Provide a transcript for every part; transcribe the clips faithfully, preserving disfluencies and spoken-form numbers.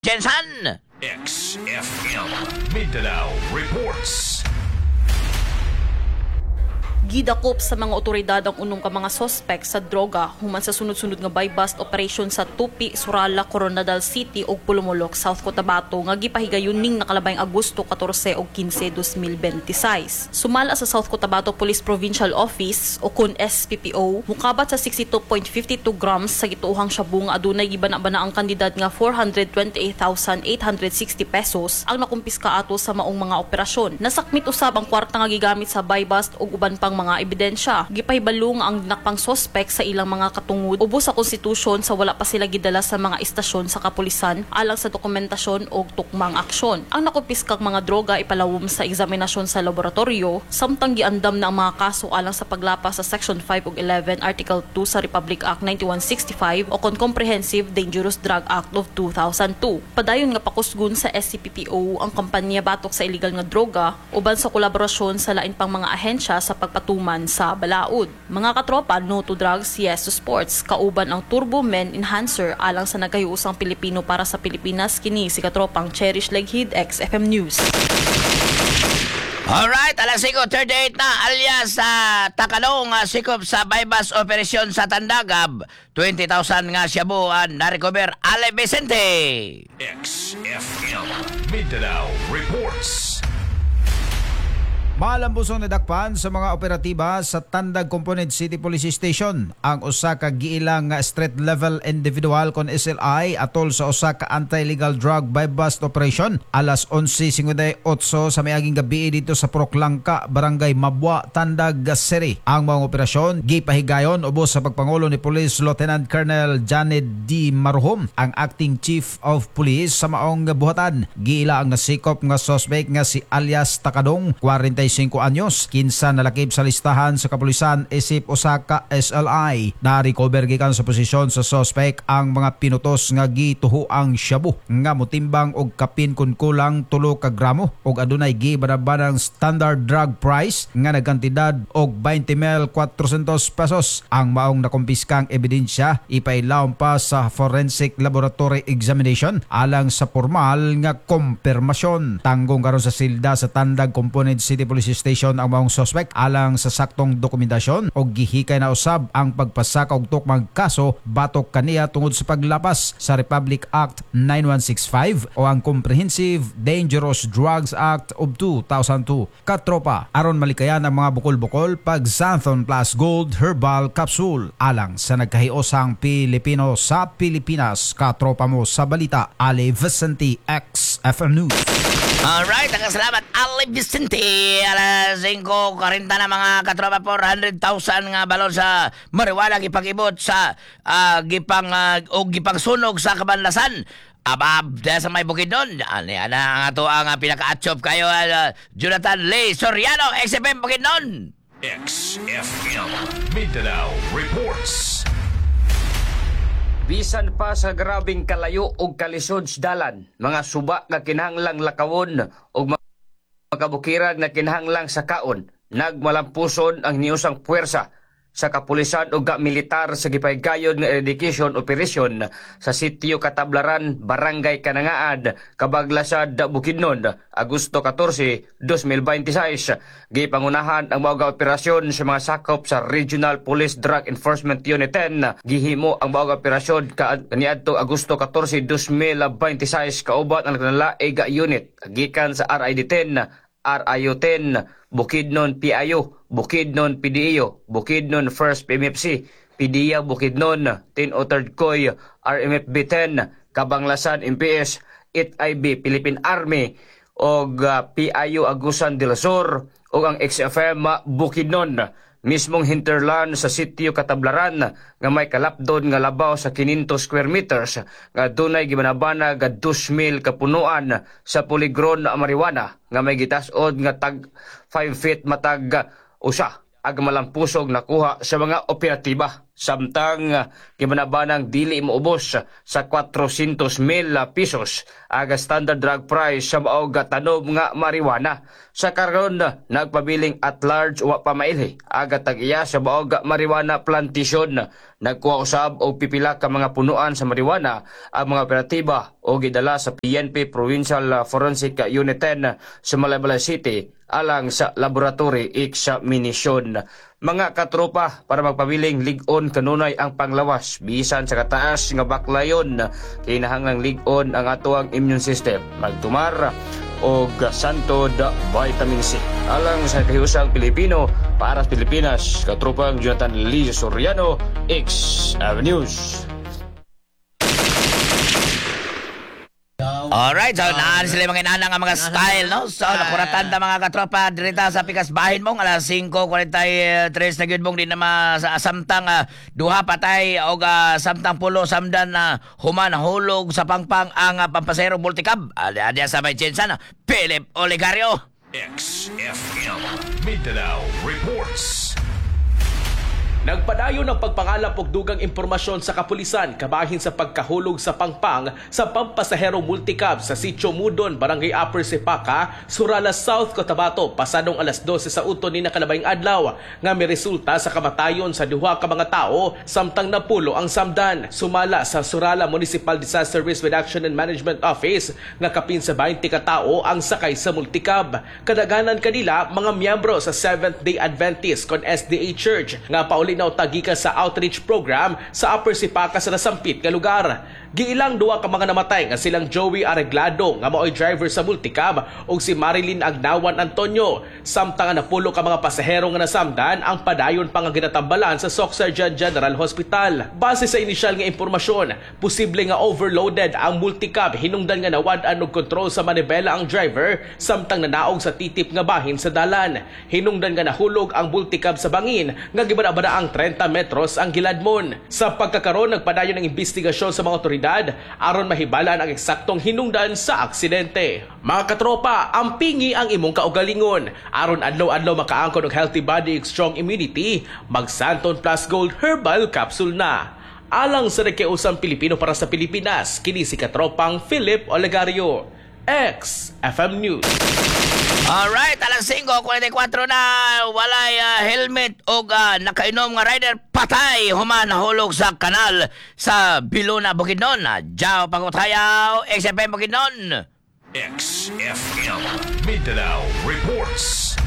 Jensen. X F M Mindanao reports. Gidakop sa mga otoridad ang unom ka mga sospek sa droga human sa sunod-sunod nga buy-bust operation sa Tupi, Surala, Koronadal City ug Polomolok, South Cotabato nga gipahigayon ning nakalabayng Agosto katorse ug kinse, dalawang libo bente sais. Sumala sa South Cotabato Police Provincial Office o kun S P P O, mukabat sa sixty-two point five two grams sa gituohang shabu nga adunay gibana-bana ang kantidad nga four hundred twenty-eight thousand eight hundred sixty pesos ang nakumpiska ato sa maong mga operasyon. Nasakmit usab ang kwarta nga gigamit sa buy-bust ug uban pang mga ebidensya. Gipahibalo nga ang dinakpang sospek sa ilang mga katungod ubos sa konstitusyon sa wala pa sila gidala sa mga istasyon sa kapulisan alang sa dokumentasyon o tukmang aksyon. Ang nakumpiskang mga droga ipalawom sa eksaminasyon sa laboratorio samtang giandam na ang mga kaso alang sa paglapas sa Section five ug eleven Article two sa Republic Act ninety-one sixty-five o kon Comprehensive Dangerous Drug Act of two thousand two. Padayon nga pakusgon sa S C P P O ang kampanya batok sa illegal nga droga uban sa kolaborasyon sa lain pang mga ahensya sa pagpatuman sa balaod. Mga katropa, no to drugs, yes to sports. Kauban ang Turbo Men Enhancer alang sa nagkahiusang Pilipino para sa Pilipinas, kini si katropang Cherish Leghid, X F M News. Alright, alas singko thirty-eight na, alias sa Takalong uh, sikop sa buy-bust operasyon sa Tandag, twenty thousand nga shabu ang na-recover. Ale Vicente. X F M Mindanao reports. Malambusong nadakpan sa mga operatiba sa Tandag Component City Police Station ang usa ka giilang nga street level individual kon S L I atol sa usa ka anti-illegal drug buy-bust operation alas onse singkwenta y otso sa miaging gabi dito sa Proklangka, Barangay Mabua, Tandag City. Ang mga operasyon gipahigayon ubos sa pagpangulo ni Police Lieutenant Colonel Janet D. Maruhom, ang acting chief of police sa maong buhatan. Giila ang nasikop nga suspect nga si alias Takadong, kwarenta y singko anyos, kinsa nalakip sa listahan sa kapulisan isip usa ka S L I. Na-recover gikan sa posisyon sa suspect ang mga pinutos nga gituhuang shabu nga motimbang og kapin kun kulang tulo ka gramo og adunay gibanabanang standard drug price nga nagkantidad og twenty thousand four hundred pesos. Ang maong nakumpiskang ebidensya ipailawom pa sa forensic laboratory examination alang sa formal nga kumpirmasyon. Tanggong karon sa silda sa Tandag Component City Police Station ang maong suspect alang sa saktong dokumentasyon og gihikay na usab ang pagpasaka og tukmang kaso batok kaniya tungod sa paglapas sa Republic Act ninety-one sixty-five o ang Comprehensive Dangerous Drugs Act of two thousand two. Katropa, aron malikayan ang mga bukol-bukol, pag Xanthone Plus Gold Herbal Capsule alang sa nagkahiusang Pilipino sa Pilipinas. Katropa mo sa balita, Ali Vicente, X F M News. Alright, ang salamat, Ali Vicente. Alas singko kwarenta na, mga katropa, four hundred thousand nga balon sa marijuana gipag-ibot sa uh, gipang uh, o gipangsunog sa kabanlasan. Abab, sa may Bukidnon. Ani ana ang ato ang uh, pinaka-atchop kayo, uh, Jonathan Lee Soriano, X F M Bukidnon. X F M Mindanao reports. Bisan pa sa grabing kalayo ug kalisod sa dalan, mga suba nga kinahanglang lakawon ug mga kabukiran nga kinahanglang sakaon, nagmalampuson ang niusang puwersa sa kapulisan ug militar sa gipahigayon nga eradication operation sa sitio Katablaran, Barangay Kanangaad, Kabaglasad, Bukidnon, Agosto katorse, dalawang libo bente sais. Gipangunahan ang mao operasyon sa mga sakop sa Regional Police Drug Enforcement Unit ten. Gihimo ang mao operasyon kaniadto Agosto katorse, dalawang libo bente sais kauban ang naglaing unit gikan sa R I D ten, R I U ten, Bukidnon P I U, Bukidnon P D E U, Bukidnon First P M F C, P D E A Bukidnon, ten o third Coy, R M F B ten, Kabanglasan M P S, eight I B Philippine Army, og uh, P I U Agusan del Sur ug ang X F M Bukidnon. Mismong hinterland sa sitio Katablaran nga may kalapdon nga labaw sa kinyentos square meters nga dunay gibanabana ga dos mil kapunuan sa fully grown na marijuana nga may gitas-od nga tag five feet matag usa. Ag malampusog nakuha sa mga operatiba. Samtang ah, gibanabanang dili moubos sa kwarosyentos mil pesos ang standard drug price sa maog tanom nga marijuana. Sa karon, nagpabiling at large, wa pa mailhi aga tag-iya sa maog marijuana plantation. Nagkuha usab og pipila ka mga punuan sa marijuana ang mga operatiba o gidala sa P N P Provincial Forensic Unit ten sa Malaybalay City alang sa laboratory examination. Mga katropa, para magpabiling lig-on kanunay ang panglawas bisan sa kataas nga baklayon, kinahanglang lig-on ang atoang immune system. Magtumar og Santod Vitamin C. Alang sa kahiusang Pilipino, para sa Pilipinas, katropang Jonathan Lee Soriano, X Avenues. Alright, so naan sila mga inana nga mga style, no? So, nakuratan ta, mga katropa, dirita sa pikas bahin mong alas singko kwarenta y tres na gyud mong di na sa samtang uh, duha patay og uh, samtang pulo samdan na uh, human hulog sa pangpang ang uh, pampasero multicab. Adi sa may tsensa na Philip Oligario. X F M Mindanao reports. Nagpadayon ang pagpangalap og dugang impormasyon sa kapulisan kabahin sa pagkahulog sa pangpang sa pampasahero multicab sa Sitio Mudon, Barangay Upper Sipaka, Surala South, Cotabato pasadong alas dose sa uton ni nakalabayng adlaw nga miresulta sa kamatayon sa duha ka mga tawo samtang napulo ang samdan. Sumala sa Surala Municipal Disaster Risk Reduction and Management Office nga kapin sa baynte ka tawo ang sakay sa multicab. Kadaghanan kanila mga miyembro sa Seventh Day Adventist kon S D A Church nga pauli na gikan sa outreach program sa Upper Sipaka sa nasampit nga lugar. Giilang duha ka mga namatay nga silang Joey Arreglado nga maoy driver sa multicab ug si Marilyn Agnawan Antonio. Samtang napulo ka mga pasahero nga nasamdan ang padayon pa nga ginatambalan sa Soccsksargen General Hospital. Base sa inisyal nga impormasyon, posible nga overloaded ang multicab hinungdan nga nawad-an og kontrol sa manibela ang driver samtang nanaog sa titip nga bahin sa dalan. Hinungdan nga nahulog ang multicab sa bangin nga gibana-bana ang trenta metros ang giladmon. Sa pagkakaroon, nagpadayon ang investigasyon sa mga otoridad aron mahibalan ang eksaktong hinungdan sa aksidente. Mga katropa, ampingi ang imong kaugalingon. Aron adlaw-adlaw makaangkon og healthy body ug strong immunity, mag Santon Plus Gold Herbal Capsule na. Alang sa nagkiusang Pilipino para sa Pilipinas, kini si katropang Philip Olegario. X F M News. Alright, alas singko kwarenta y kwatro na, walay ah, helmet o uh, nakainom nga rider patay human nahulog sa kanal sa Biluna, Bukidnon. Jao Pagutayaw, X F M Bukidnon. X F M Mindanao reports.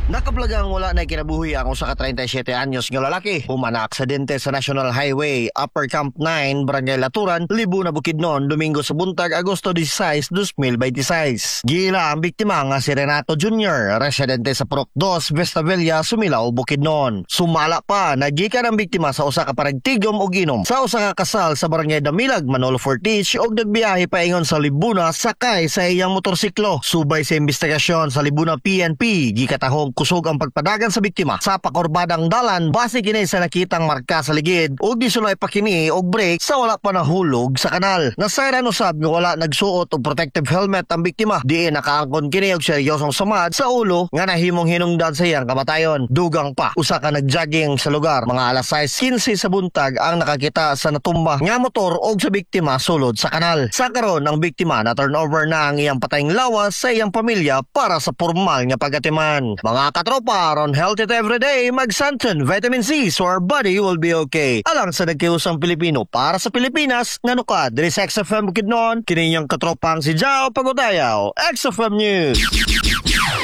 Nakablagang wala na kinabuhi ang usa ka trenta y siyete anyos nga lalaki human na aksidente sa National Highway, Upper Camp nine, Barangay Laturan, Libuna, Bukidnon, Domingo sa buntag, Agosto labing-sais, dalawang libo dalawampu't sais. Giila ang biktima nga si Renato Junior, residente sa Purok dos, Vesta Villa, Sumilao, Bukidnon. Sumala pa, nagikan ang biktima sa usa ka paragtigom og inom sa usa ka kasal sa Barangay Damilag, Manolo Fortich og nagbiyahe paingon sa Libuna sakay sa iyang motorsiklo. Subay sa investigasyon sa Libuna P N P, gikatahong kusog ang pagpadagan sa biktima sa pakurbadang dalan base kini sa nakitang marka sa ligid ug gisulay pa kini og brake sa wala pa nahulog sa kanal. Nasayran usab nga wala nagsuot og protective helmet ang biktima. Diin nakaangkon kini og seryosong samad sa ulo nga nahimong hinungdan sa iyang kamatayon. Dugang pa, usa ka nagjogging sa lugar mga alas sais kinse sa buntag ang nakakita sa natumba nga motor og sa biktima sulod sa kanal. Sa karon, ang biktima na turnover na ang iyang patayng lawas sa iyang pamilya para sa formal nga pagatiman. Mga katropa, aron healthy everyday, mag-Santon Vitamin C so our body will be okay. Alang sa nagkiusang Pilipino para sa Pilipinas, nga nukad, diri sa X F M Bukidnon, kini inyong katropang si Jao Pagutayaw, X F M News.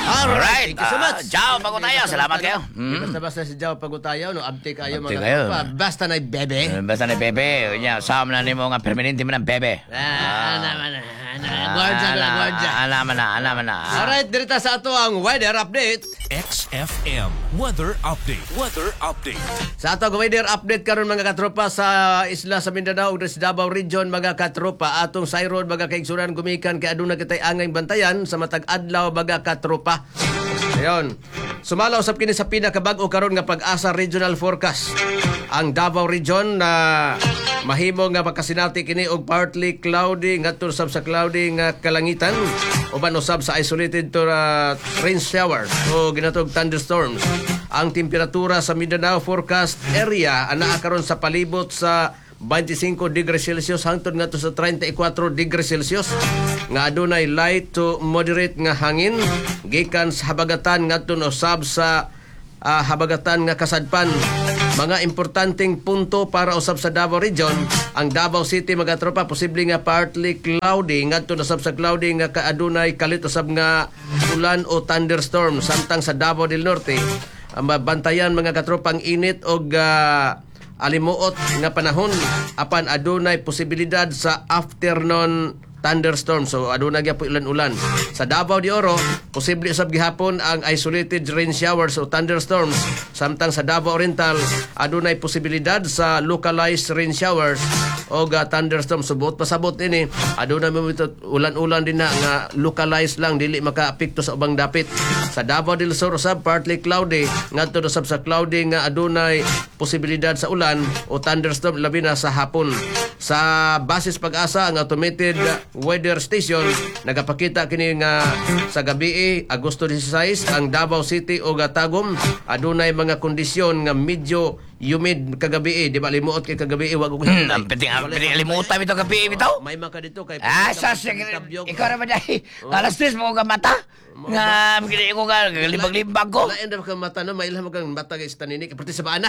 Alright, Thank you so much. ah, Jao Pagutayaw, salamat kayo. Mm. Mm. Basta-basta si Jao Pagutayaw, no? Abte kayo, Abte mga kayo. katropa. Basta na bebe. Eh, basta ni Bebe, nya sama na nimo nga permanente mo ng bebe. Ah, ana man na. Ana, gwardiya na, gwardiya. Ana man na, ana man na. Alright, dirita sa ato ang weather update. X F M Weather Update. Weather Update. Sa ato ang weather update karon, mga katropa, sa isla sa Mindanao ug sa Davao Region, mga katropa, atong sayron, mga kaigsunan, gumikan kay aduna kitay angay bantayan sa matag adlaw, mga katropa. Ayon. Sumala usab kini sa pinakabag-o karon nga Pag-asa Regional Forecast. Ang Davao Region na Mahimo nga makasinati kini og partly cloudy ngadto sab sa cloudy nga kalangitan, uban usab sa isolated to uh, rain showers o ginatawag thunderstorms. Ang temperatura sa Mindanao forecast area anaa karon sa palibot sa twenty-five degrees Celsius hangtod ngadto sa thirty-four degrees Celsius nga adunay light to moderate nga hangin gikan sa habagatan ngadto usab sa ah, habagatan nga kasadpan. Mga importanteng punto para usab sa Davao Region, ang Davao City, mga tropa, posible nga partly cloudy ngadto usab sa cloudy nga kaadunay kalit usab nga ulan o thunderstorm, samtang sa Davao del Norte, ang mabantayan, mga katropa, ang init og ah, alimuot nga panahon apan adunay posibilidad sa afternoon thunderstorm, so adunay gyapon ulan-ulan. Sa Davao de Oro, posible usab gihapon ang isolated rain showers o thunderstorms, samtang sa Davao Oriental adunay posibilidad sa localized rain showers o uh, thunderstorm. So buot pasabot ini, adunay mo ulan-ulan din na nga localized lang, dili makaapekto sa ubang dapit. Sa Davao del Sur usab, partly cloudy ngadto usab sa cloudy nga adunay posibilidad sa ulan o thunderstorm, labi na sa hapon. Sa basis Pag-asa, ang automated weather station nagapakita kini nga sa gabi, Agosto sixteen, ang Davao City o Tagum adunay mga kondisyon nga medyo humid kagabi. Di ba limuot kay kagabi wa ko Hmm, ang piting ang piting limutan bitaw gabi bitaw. May maka dito kay Ah, sa ikaw ra ba dai? Alas tres mo ka mata. Nga gini ko ka libag-libag ko. Lain ra ka mata no, mailhan mo kang mata kay taninik perti sa baana.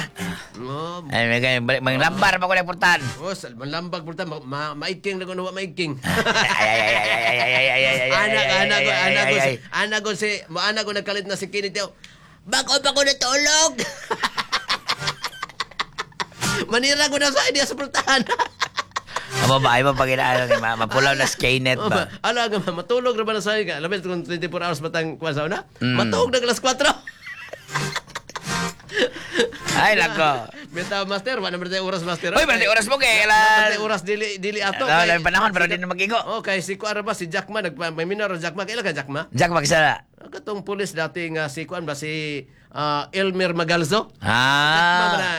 Oh, Ay, may kay lambar pa ko na portan. Oh, sa malambag porta ma, ma, maiking na kuno, wa maiking. Ay ay ay ay ay ay ay ay ay ay. Anak, anak ko, anak ko, ay, si, anak ko si, mo anak ko nagkalit na si Kenneth. Bako pa ko natulog. Manira ko na sa idea sa pultahan. Ang babae mo pag inaano ni ma mapulaw na Skynet Oh, ba. Ala nga matulog ra ba na sa nga. Labi kung twenty-four hours batang kuan sa una. Mm. Matuog na alas kwatro. Ay nako. Bitaw, master, wala naman tayo oras, master. Uy, wala oras mo kay Wala alas. tayo oras dili dili ato. Wala na panahon pero di na magigo. Oh, kay si kuan ra ba si Jack Ma nagpa may minor Jack Ma. Kaila ka Jack Ma? Jack magsala. Katong pulis dati nga si kuan ba si ah, Elmer Magalzo. Jack Ma Ah. na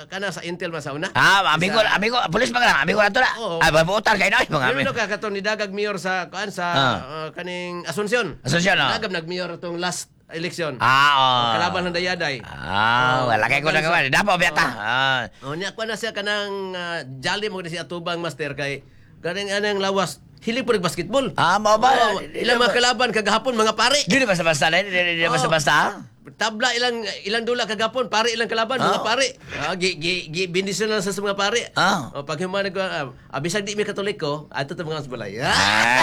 kana sa Intel man sa una. Ah, amigo, Sa- amigo, pulis pa ka lang, amigo na to na. Oo. Ah, babutan kayo na, mga Pero amigo. no ka katong nidagag mayor sa kuan sa Ah. ah, kaning Asuncion. Asuncion, oh. Nagab nagmayor atong last election. Ah, oh. Kalaban ng Dayaday. Ah, Oh, wala kay ko na gawa. Dapo biyata. Ah. Oh, niya kuan na siya kanang uh, jolly mo si atubang, master, kay kaning anang lawas hilig po basketball. Ah, mao ba? Oh, ilang mga kalaban kagahapon mga pare. Di na basta-basta, di di Oh. basta-basta. Tabla ilang ilang dula kagapon, pare ilang kalaban, mga Oh. pare. Ah, gi gi gi bendisyon lang sa mga pare. Ah. Oh, pag human ko, ah, bisag di mi Katoliko, ato ta mga balay. Ah. Ah.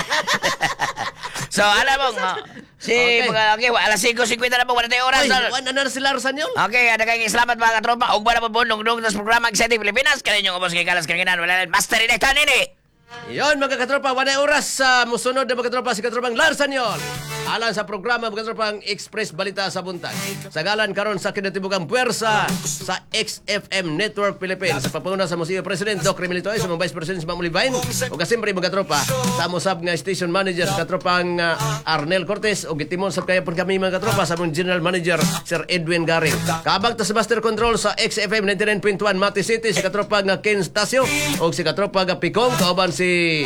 So, alam mo, nga, si Okay. mga okay, alas singko singkwenta na po, wala tayong oras. Ay, wan na na sila Rosanyol. Okay, ada kayong salamat, mga katropa. Ug na po dungdung sa programa Exciting Pilipinas. Kaninyong ubos kay Kalas Kanginan. Wala na, Master Inekta nini. Yon, mga katropa, walay oras sa musunod na, mga katropa, si katropang Lars Sanyol. Alang sa programa, mga katropang Express Balita sa Buntag. Sa galan karon sa kinatibukang puwersa sa X F M Network Philippines. Sa pangunguna sa Museo President Doc Remilito sa mga Vice President si Ma'am Olivine. O kasiyempre, mga katropa, sa amosab nga Station Manager sa katropang uh, Arnel Cortez. O gitimon sa kaya pun kami, mga katropa, sa among General Manager Sir Edwin Garing. Kabag ta sa Master Control sa X F M ninety-nine point one Mati City si katropa nga Ken Stasio o si katropa nga Picong kauban si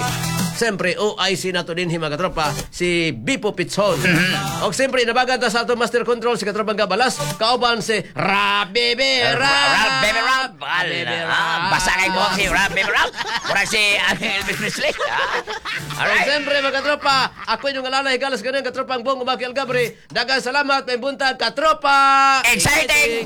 siyempre, O I C nato din mga katropa, si Bipo Pitson. O siyempre, nabagan ta sa atong Master Control si katropang Gabalas, kauban si Rab Baby Rab! Rap, baby, rap. Baby Ah, basa kay buhok si Rap, baby, rap. Murag si ah, Elvis Presley. Ah. Alright. Alright. Siyempre, mga katropa, ako inyong alalay, galas ganun, katropang Bong Umaki Algabri. Daghang salamat, may buntag, katropa! Exciting!